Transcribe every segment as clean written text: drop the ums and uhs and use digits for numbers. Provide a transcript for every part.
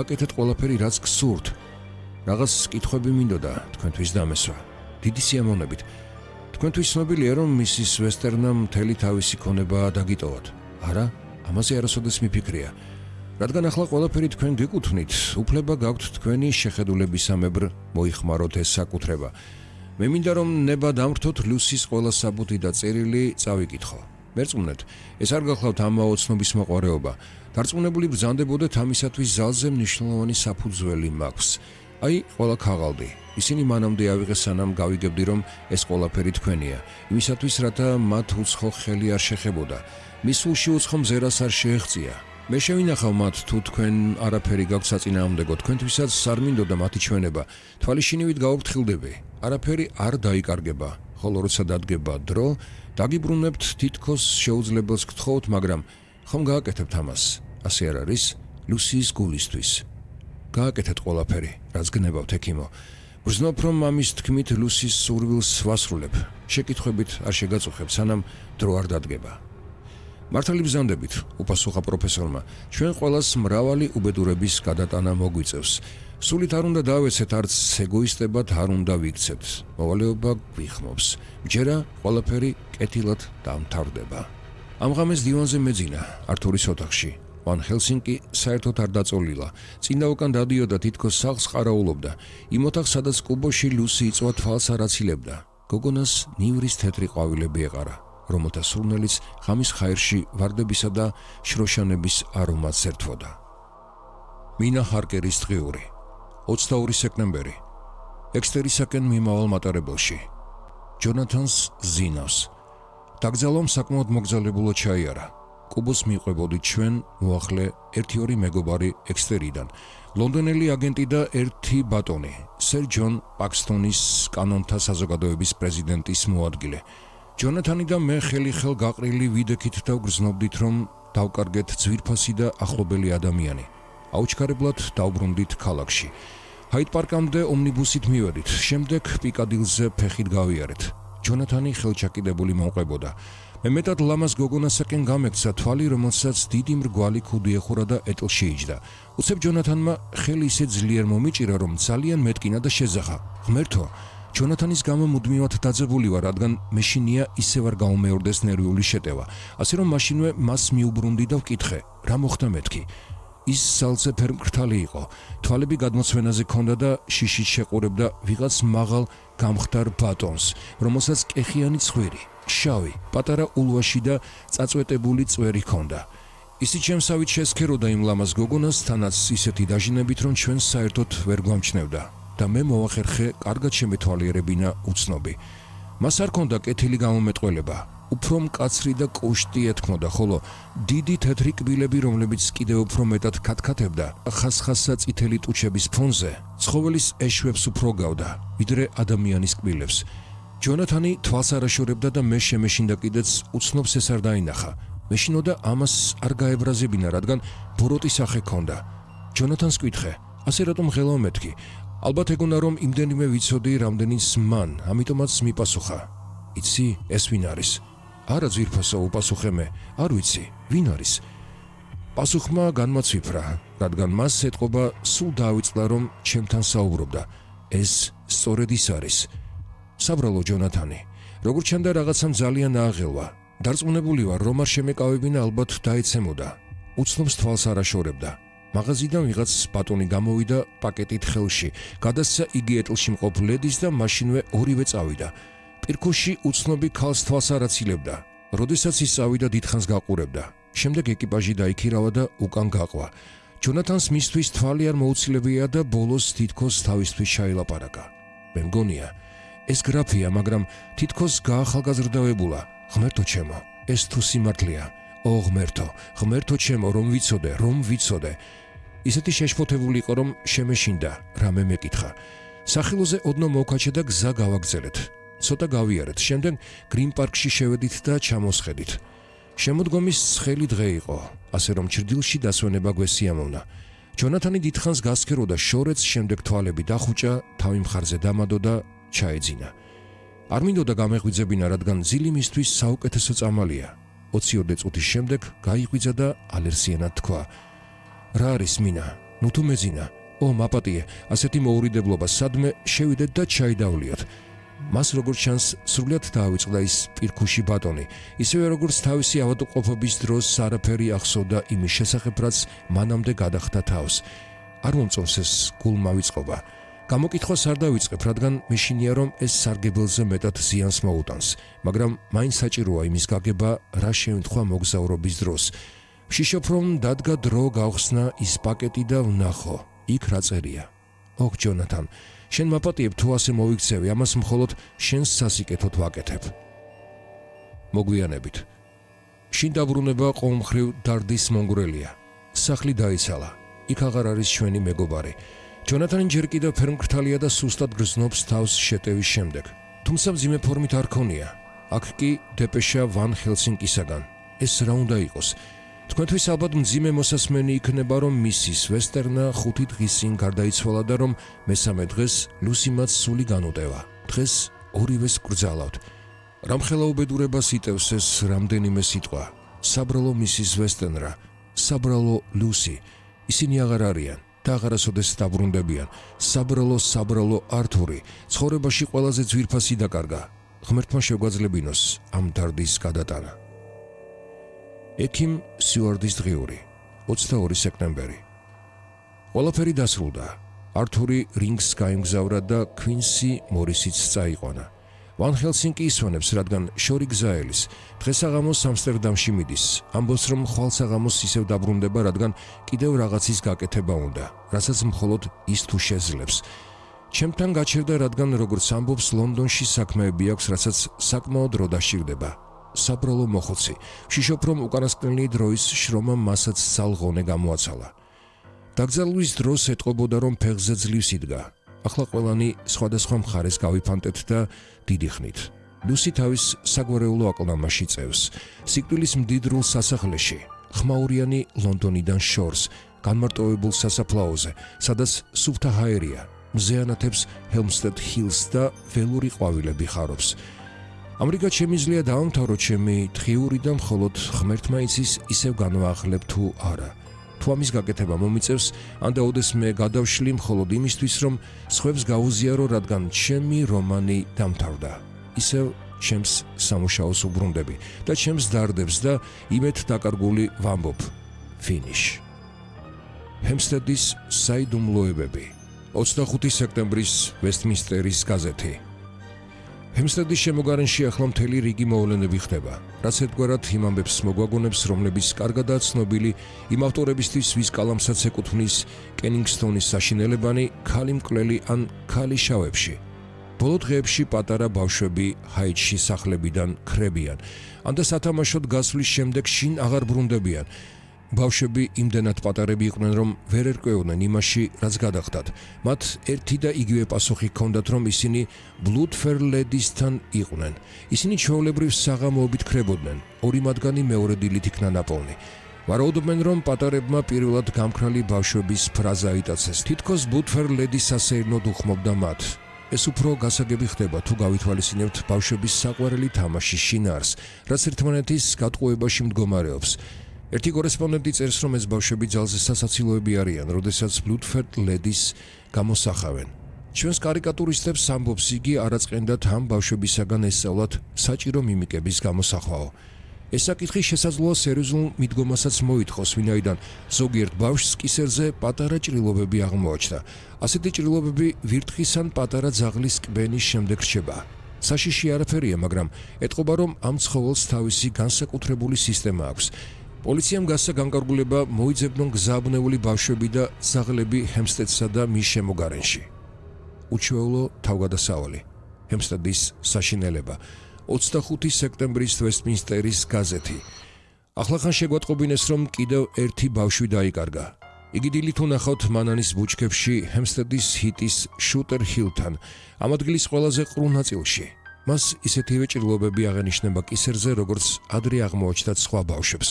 გააკეთეთ ყველაფერი, რაც გსურთ. Რაღაც კითხვები მინდოდა თქვენთვის დამესვა. დიდი სიამოვნებით. თქვენთვის ცნობილია, რომ მისის ვესტერნამ მთელი თავისი ქონება დაგიტოვოთ. არა, ამაზე არასოდეს მიფიქრია. რადგან ახლა ყველაფერი თქვენ გეკუთვნით, უფლება გაქვთ თქვენი შეხედულებისამებრ მოიხმაროთ ეს საკუთრება. მე მინდა რომ ნება დამრთოთ ლუსის ყველა საბუთი და წერილი წავიკითხო. მერწმუნეთ, ეს არ გახლავთ ამაო ცნობის მოყვარეობა. დარწმუნებული ბრძანდებოდეთ ამისათვის ზალზე მნიშვნელოვანი საფუძველი მაქვს. აი, ყველა ქაღალდი. ისინი მანამდე ავიღეს, სანამ გავიგებდი, რომ ეს ყველაფერი თქვენია. იმისათვის, რათა მათ უცხო ხელი არ შეხებოდა. მის სულში უცხო მზერას არ შეეღწია. მე შევინახავ მათ, თუ თქვენ არაფერი გაქვთ საწინააღმდეგო, თქვენთვისაც არ მინდოდა მათი ჩვენება. თვალიშინივით გავუფრთხილდები. არაფერი არ დაიკარგება, ხოლო როცა დადგება დრო, დაგიბრუნებთ თითქოს შეუძლებელს გთხოვთ, მაგრამ ხომ გააკეთებთ ამას? ასე არ არის? ლუსის გულისთვის. გააკეთეთ ყველაფერი, რაც გნებავთ, ექიმო. ვგრძნობ, რომ ამის თქმით ლუსის სურვილს ვასრულებ. შეკითხვებით არ შეგაწუხებ, სანამ დრო არ დადგება. მართალი ბრძანდებით, უპასუხა პროფესორმა, ჩვენ ყველას მრავალი უბედურების გადატანა მოგვიწევს. სულით არ უნდა დავეცეთ, არც ეგოისტებად არ უნდა ვიქცეთ. მოვალეობა გვიხმობს. მჯერა ყველაფერი კეთილად დამთავრდება. ამ ღამეს დივანზე მეძინა, ართურის ოთახში. ვან ჰელსინკი საერთოდ არ დაწოლილა. წინდა უკან დადიოდა, თითქოს სახლს ყარაულობდა. იმ ოთახს, სადაც კუბოში ლუსი იწვა თვალს არ აცილებდა. გოგონას ნივრის თეთრი ყვავილები ეყარა, რომელთა სურნელიც ღამის ხაერში ვარდებისა და შროშანების არომატს ერთვოდა. მინა ჰარკერის დღიური 22 სექტემბერი. ექსტერისაკენ მიმავალ მატარებელში. ჯონათანს ზინავს. დაგზავნამ საკმაოდ მოგზაურებულად ჩაიარა. კუბოს მიყვებოდით ჩვენ მოახლე 1-2 მეგობარი ექსტერიდან. ლონდონელი აგენტი და ერთი ბატონი, სერ ჯონ პაქსტონის კანონთა საზოგადოების პრეზიდენტის მოადგილე. ჯონათანი და მე ხელი-ხელ გაყრილი ვიდექით და ვგრძნობდით, რომ დავკარგეთ ძვირფასი და ახლობელი ადამიანი. აუჩქარებლად დავბრუნდით ქალაქში. ჰაიდ-პარკამდე ომნიბუსით მივედით, შემდეგ პიკადილზე ფეხით გავიარეთ. ჯონათანი ხელჩაკიდებული მომყვებოდა. მე მეტად ლამაზ გოგონასაკენ გამექცა თვალი, რომელსაც დიდი მრგვალი ქუდი ეხურა და ეტლში იჯდა. უცებ ჯონათანმა ხელი ისე ძლიერ მომიჭირა, რომ ძალიან მეტკინა და შეძახა. ღმერთო, ჯონათანის გამო მუდმივად დაძაბული ვარ, რადგან მეშინია ისევ არ გაუმეორდეს ნერვიული შეტევა. ასე რომ მაშინვე მას მიუბრუნდი და ვკითხე, რა მოხდა მეთქი. ის სალზე ფერმკრთალი იყო, თვალები გადმოცვენაზე ჰქონდა და შიშით შეყურებდა ვიღაც მაღალ გამხდარ ბატონს, რომელსაც კეხიანი ცხვირი, შავი, პატარა ულვაში და წაწვეტებული წვერი ჰქონდა. ისიც შემსავით შესქეროდა იმ ლამაზ გოგონას, თანაც ისეთი დაჟინებით, რომ ჩვენ საერთოდ ვერ გვამჩნევდა და მე მოვახერხე კარგად შემეთვალიერებინა უცნობი. მას არ ჰქონდა კეთილი გამომეტყველება, უფრო მკაცრი და კოშტი ეთქმოდა, ხოლო დიდი თეთრი კბილები, რომლებიც კიდევ უფრო მეტად ქათქათებდა, ხასხასა წითელი ტუჩების ფონზე, ცხოველის ეშვებს უფრო გავდა, ვიდრე ადამიანის კბილებს. ჯონათანი თვალს არაშორებდა და მე შემეშინდა კიდეც უცნობს ეს არ დაინახა. მეშინოდა ამას არ გაებრაზებინა, რადგან ბოროტი სახე ჰქონდა. ჯონათანს ვკითხე, ასე რატომ ღელავ მეთქი? ალბათ ეგონა, რომ იმდენიმე ვიცოდი, რამდენიც მან, ამიტომაც მიპასუხა. იცი, ეს ვინ არის? არა ძვირფასო, უპასუხე მე, არ ვიცი, ვინ არის? პასუხმა განმაცვიფრა, რადგან მას ეთყობა სულ დაავიწყდა, რომ ჩემთან საუბრობდა. ეს სწორედ ის არის. საბრალო ჯონათანი, როგორც ჩანდა რაღაცამ ძალიან ააღელვა. დარწმუნებული ვარ, რომ არ შემეკავებინა, ალბათ დაეცემოდა. უცნობს თვალს არაშორებდა. მაღაზიიდან ვიღაც ბატონი გამოვიდა პაკეტით ხელში, გადასცა იგი ეტლში მყოფ ლედის და მაშინვე ორივე წავიდა. პირქუში უცნობი ქალს თვალს არ აცილებდა. როდესაც ის წავიდა, დიდხანს გაყურებდა. შემდეგ ეკიპაჟი დაიქირავა და უკან გაყვა. ჯონათანს მისთვის თვალი არ მოუცილებია და ბოლოს თითქოს თავისთვის ჩაილაპარაკა. მე მგონია, ეს გრაფია, მაგრამ თითქოს გაახალგაზრდავებულა. ღმერთო ჩემო, ეს თუ სიმართლეა. ო ღმერთო, ღმერთო ჩემო, რომ ვიცოდე. ისეთი შეშფოთებული იყო, რომ შემეშინდა, რამე მეკითხა. სახილოზე ოდნავ მოვქაჩა და გზა გავაგზელეთ. ცოტა გავიარეთ, შემდეგ გრინ პარკში შევედით და ჩამოსხედით. შემოდგომის ცხელი დღე იყო, ასე რომ ჩრდილში დასვენება გვესიამოვნა. ჯონათანი დიდხანს გასქეროდა შორეთს, შემდეგ თვალები დახუჭა, თავი მხარზე დამადო და ჩაეძინა. არ მინდოდა გამეღვიძებინა, რადგან ძილი მისთვის საუკეთესო წამალია. 22 წუთის შემდეგ გაიღვიძა და ალერსიანად თქვა: რა არის მინა? ნუ თუ მეძინა. ო, მაპატიე, ასეთი მოურიდებლობა სადმე შევიდეთ და ჩაიდავლიოთ. მას როგორც ჩანს, სრულად დაავიწყდა ის პირქუში ბატონი, ისევე როგორც თავისი ავადმყოფობის დროს არაფერი ახსოვდა იმის შესახებ, რაც მანამდე გადახდა თავს. არ მომწონს ეს გულმა ვიწყობა. გამოკითხვას არ დავიწყებ, რადგან მეშინია, რომ ეს სარგებელზე მეტად ზიანს მოუტანს, მაგრამ მაინც საჭიროა იმის გაგება, რა შეემთხვა მოგზაურობის დროს. ვშიშობ, რომ დადგა დრო გავხსნა ის პაკეტი და ვნახო, იქ რა წერია. ოქ, ჯონათან, შენ მაპატიებ თუ ასე მოვიქცევი, ამას მხოლოდ შენს სასიკეთოდ ვაკეთებ. მოგვიანებით. შინ დაბრუნება ყოველმხრივ დარდის მონგრელია. სახლი დაიცალა. იქ აღარ არის ჩვენი მეგობარი. ჯონათანი ჯერ კიდევ ფერმკრთალია და სუსტად გრძნობს თავს შეტევის შემდეგ. თუმცა მძიმე ფორმით არ ქონია. აქ კი დეპეშა ვან ჰელსინკისაგან. ეს რა უნდა იყოს? თქვენთვის ალბათ მძიმე მოსასმენი იქნება, რომ მისის ვესტერნა 5 დღის წინ გარდაიცვალა და რომ მესამე დღეს ლუსი მათ სული განუტევა. დღეს ორივეს გრძალავთ. რამხელა უბედურებას იტევს ეს რამდენიმე სიტყვა. საბრალო მისის ვესტერნა, საბრალო ლუსი. ისინი აღარ არიან და აღარასოდეს დაბრუნდებიან. საბრალო ართური, ცხოვრებაში ყველაზე ძვირფასი დაკარგა. ღმერთმა შეგვაძლებინოს ამ დარდის გადატანა. ექიმ სიუარდის დღიური, 22 სექტემბერი. ყველაფერი დასრულდა. ართური რინგს გაემგზავრა და ქვინსი მორისიც წაიყვანა. ვან ჰელსინკი ისვენებს, რადგან შორი გზაელის. დღესაღამოს ამსტერდამში მიდის. ამბობს, რომ ხვალსაღამოს ისევ დაბრუნდება, რადგან კიდევ რაღაცის გაკეთება უნდა, რასაც მხოლოდ ის თუ შეძლებს. ჩემთან გაჩერდა, რადგან როგორც ამბობს, ლონდონში საქმეები აქვს, რასაც საკმაოდ დრო დასჭირდება. საბრალო მოხუცი. ვშიშობ, რომ უკანასკნელი დროის შრომა მასაც ძალღონე გამოაცალა. დაგზავნის დროს ეტყობოდა, რომ ფეხზე ძლივს იდგა. ახლა ყველანი სხვადასხვა მხარეს გავიფანტეთ და დიდი ხნით. ლუსი თავის საგვარეულო აკლდამაში წევს. სიკვდილის მდიდრულ სასახლეში, ხმაურიანი ლონდონიდან შორს, განმარტოვებულ სასაფლაოზე, სადაც სუფთა ჰაერია, მზეანათებს ჰელმსტედ ჰილს და ველური ყვავილები ხარობს. ამრიგად შემიძლია დავამთავრო ჩემი დღიური და მხოლოდ ღმერთმა იცის ისევ განვაახლებ თუ არა. თუ ამის გაკეთება მომიწევს, ანდა ოდესმე გადავშლი მხოლოდ იმისთვის, რომ სხვებს გავუზიარო, რადგან ჩემი რომანი დამთავრდა. ისევ ჩემს სამუშაოს უბრუნდები და ჩემს დარდებს და იმეთ დაკარგული ვამბობ. ფინიშ. ჰემსტედის საიდუმლოებები. 25 სექტემბრის ვესტმინსტერის გაზეთი. ჰემსტედის შემოგარენში ახლა მთელი რიგი მოვლენები ხდება, რაც ერთგვარად იმ ამბებს მოგვაგონებს, რომლებიც კარგადაა ცნობილი იმ ავტორებისთვის, ვის კალამსაც ეკუთვნის კენინგსტონის საშინელებანი, ქალი მკვლელი ან ქალი შავებში. ბოლო დღეებში პატარა ბავშვები ჰაიტში სახლებიდან ქრებიან, ანდა სათამაშოდ გასვლის შემდეგ შინ აღარ ბრუნდებიან. ბავშვები იმდენად პატარები იყვნენ, რომ ვერ ერკვეოდნენ იმაში, რაც გადახდათ. მათ ერთი და იგივე პასუხი ჰქონდათ, რომ ისინი ბლუდფერ ლედისთან იყვნენ. ისინი ჩვეულებრივ საღამოობით ქრებოდნენ. ორი მათგანი მეორე დილით იქნა ნაპოვნი. ვარაუდობენ, რომ პატარებმა პირველად გამქრალი ბავშვების ფრაზა აიტაცეს. თითქოს ბლუდფერ ლედის სასეირნოდ უხმობდა მათ. ეს უფრო გასაგები ხდება, თუ გავითვალისწინებთ ბავშვების საყვარელი თამაშის შინაარს, რაც ერთმანეთის გატყუებაში მდგომარეობს. ერთი კორესპონდენტი წერს, რომ ეს ბავშვები ძალზე სასაცილოები არიან, როდესაც ბლუდფერ ლედის გამოსახავენ. ჩვენს კარიკატურისტებს ამბობს იგი არაწყენდათ ამ ბავშვებისაგან ესწავლათ საჭირო მიმიკების გამოსახვაო. ეს საკითხი შესაძლოა სერიოზულ მიდგომასაც მოითხოვს, ვინაიდან ზოგიერთ ბავშვს კისერზე პატარა ჭრილობები აღმოაჩნდა. ასეთი ჭრილობები ვირთხის ან პატარა ძაღლის კბენის შემდეგ რჩება. საშიში არაფერია, მაგრამ ეტყობა, რომ ამ ცხოველს თავისი განსაკუთრებული სისტემა აქვს. პოლიციამ გასცა განკარგულება მოიძებნონ გზააბნეული ბავშვები და ძაღლები ჰემსტედსა და მის შემოგარენში. უჩვეულო თავგადასავალი. ჰემსტედის საშინელება. 25 სექტემბრის ვესტმინსტერის გაზეთი. ახლახან შეგვატყობინეს, რომ კიდევ ერთი ბავშვი დაიკარგა. იგი დილით უნახავთ მანანის ბუჩქებში ჰემსტედის ჰიტის შუტერ ჰილთან, ამ ადგილის ყველაზე ყრუ ნაწილში. მას ისეთივე ჭრილობები აღენიშნება კისერზე, როგორც ადრე აღმოაჩნდათ სხვა ბავშვებს.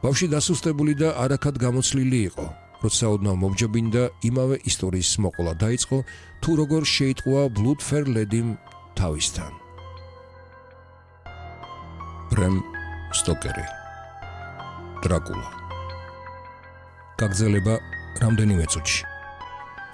ბავშვი დასუსტებული და არაქად გამოცლილი იყო. როცა ოდნავ მომჯობინდა, იმავე ისტორიის მოყოლა დაიწყო, თუ როგორ შეიტყვა ბლუდფერ ლედიმ თავისთან. ბრემ სტოკერი. დრაკულა. გაგრძელება რამდენიმე წუთში.